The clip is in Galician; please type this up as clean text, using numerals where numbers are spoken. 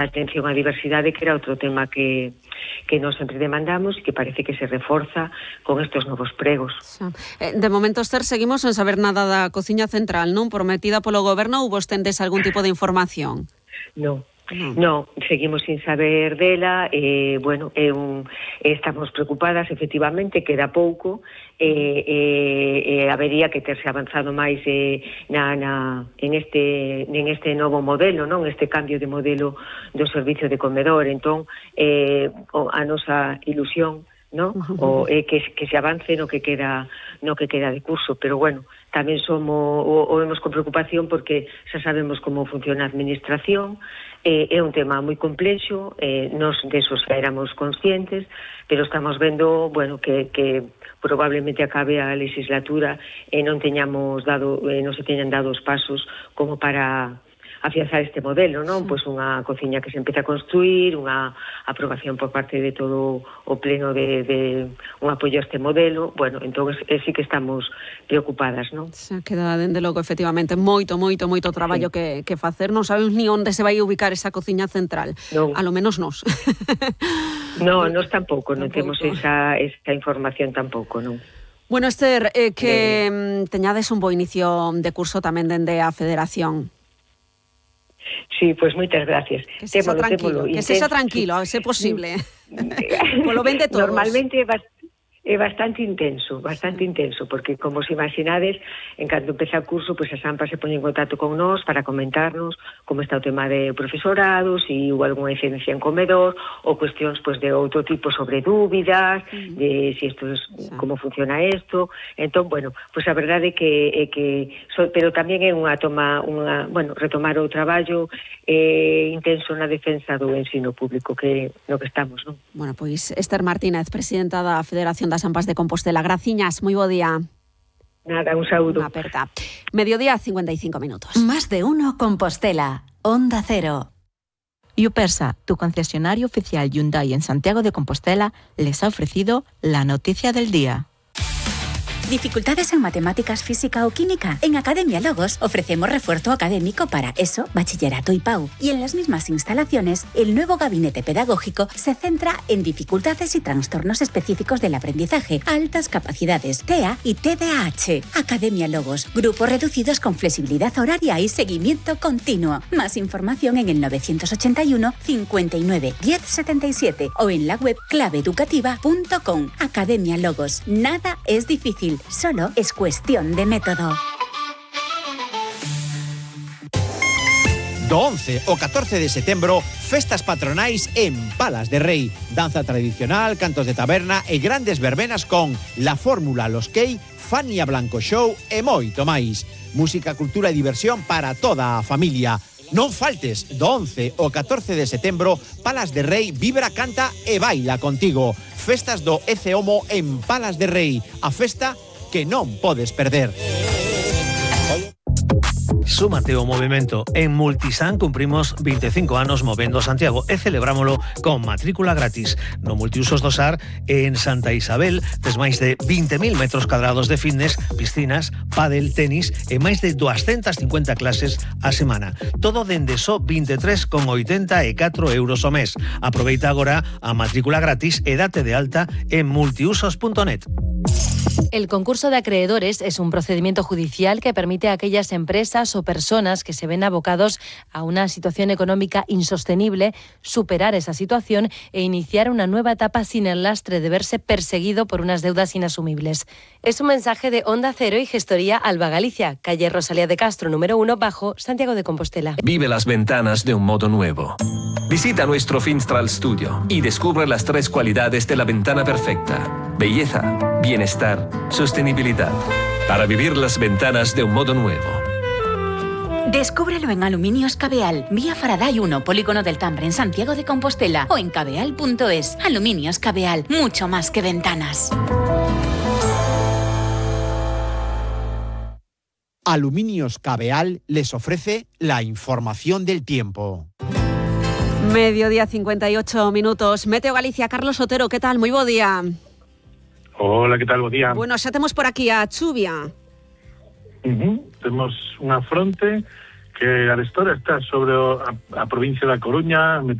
atención á diversidade, que era outro tema que nós sempre demandamos e que parece que se reforza con estes novos pregos. De momento, Esther, seguimos sen saber nada da cociña central, non? Prometida polo goberno, ou vos tendes algún tipo de información? Non, seguimos sin saber dela, estamos preocupadas, efectivamente, queda pouco, habería que terse avanzado máis en este novo modelo, non? Este cambio de modelo do servicio de comedor. Entón, a nosa ilusión, non? Que se avance no que queda de curso, pero bueno, tamén vemos con preocupación porque xa sabemos como funciona a administración. É un tema moi complexo, nos desos xa éramos conscientes, pero estamos vendo, que probablemente acabe a legislatura e non se teñan dado os pasos como para afianzar este modelo, non? Pois unha cociña que se empeza a construir, unha aprobación por parte de todo o pleno de un apoio a este modelo. Entón sí que estamos preocupadas, non? Se queda, dende logo, efectivamente, moito traballo que facer. Non sabemos ni onde se vai ubicar esa cociña central. Non. A lo menos nós. Non, nós tampouco, non temos esa información tampouco, non? Bueno, Esther, que teñades un bo inicio de curso tamén dende a Federación. Sí, pois moitas gracias. Que sexa tranquilo, a ser posible. Polo ben de todos. Normalmente é bastante intenso, porque, como se imaginades, en canto empeza o curso, pois as AMPA se poñen en contacto con nós para comentarnos como está o tema de profesorado, se hubo algunha incidencia en comedor, ou cuestións pois de outro tipo sobre dúbidas, de si isto es, como funciona isto. Entón, pois a verdade é que pero tamén é retomar o traballo intenso na defensa do ensino público no que estamos, non? Bueno, pois Esther Martínez, presidenta da Federación das AMPAs de Compostela. Graciñas, moi bo día. Nada, un saúdo. Unha aperta. Mediodía, 55 minutos. Más de uno Compostela. Onda Cero. Yupersa, tu concesionario oficial Hyundai en Santiago de Compostela, les ha ofrecido la noticia del día. ¿Dificultades en matemáticas, física o química? En Academia Logos ofrecemos refuerzo académico para ESO, bachillerato y PAU. Y en las mismas instalaciones, el nuevo gabinete pedagógico se centra en dificultades y trastornos específicos del aprendizaje, altas capacidades, TEA y TDAH. Academia Logos, grupos reducidos con flexibilidad horaria y seguimiento continuo. Más información en el 981 59 10 77 o en la web claveeducativa.com. Academia Logos. Nada es difícil. Solo es cuestión de método. Do 11 ao 14 de setembro, festas patronais en Palas de Rei. Danza tradicional, cantos de taberna e grandes verbenas con La Fórmula, Los Key, Fania Blanco Show e moito máis. Música, cultura e diversión para toda a familia. Non faltes, do 11 ao 14 de setembro, Palas de Rei vibra, canta e baila contigo. Festas do ECEOMO en Palas de Rei. A festa que non podes perder. Súmate ao movimento. En Multisan cumprimos 25 anos movendo Santiago e celebrámolo con matrícula gratis. No Multiusos do SAR en Santa Isabel tes máis de 20.000 metros cadrados de fitness, piscinas, pádel, tenis e máis de 250 clases a semana. Todo dende só 23,84 euros ao mes. Aproveita agora a matrícula gratis e date de alta en multiusos.net. El concurso de acreedores es un procedimiento judicial que permite a aquellas empresas o personas que se ven abocados a una situación económica insostenible superar esa situación e iniciar una nueva etapa sin el lastre de verse perseguido por unas deudas inasumibles. Es un mensaje de Onda Cero y Gestoría Alba Galicia, calle Rosalía de Castro, número 1, bajo, Santiago de Compostela. Vive las ventanas de un modo nuevo. Visita nuestro Finstral Studio y descubre las 3 cualidades de la ventana perfecta: belleza, bienestar, sostenibilidad. Para vivir las ventanas de un modo nuevo. Descúbrelo en Aluminios Cabeal, vía Faraday 1, Polígono del Tambre, en Santiago de Compostela, o en cabeal.es. Aluminios Cabeal, mucho más que ventanas. Aluminios Cabeal les ofrece la información del tiempo. Mediodía, 58 minutos. Meteo Galicia, Carlos Otero, ¿qué tal? Muy bo día. Hola, ¿qué tal? Bo día. Bueno, xa temos por aquí a chuvia. Temos unha fronte que a arestora está sobre a provincia da Coruña,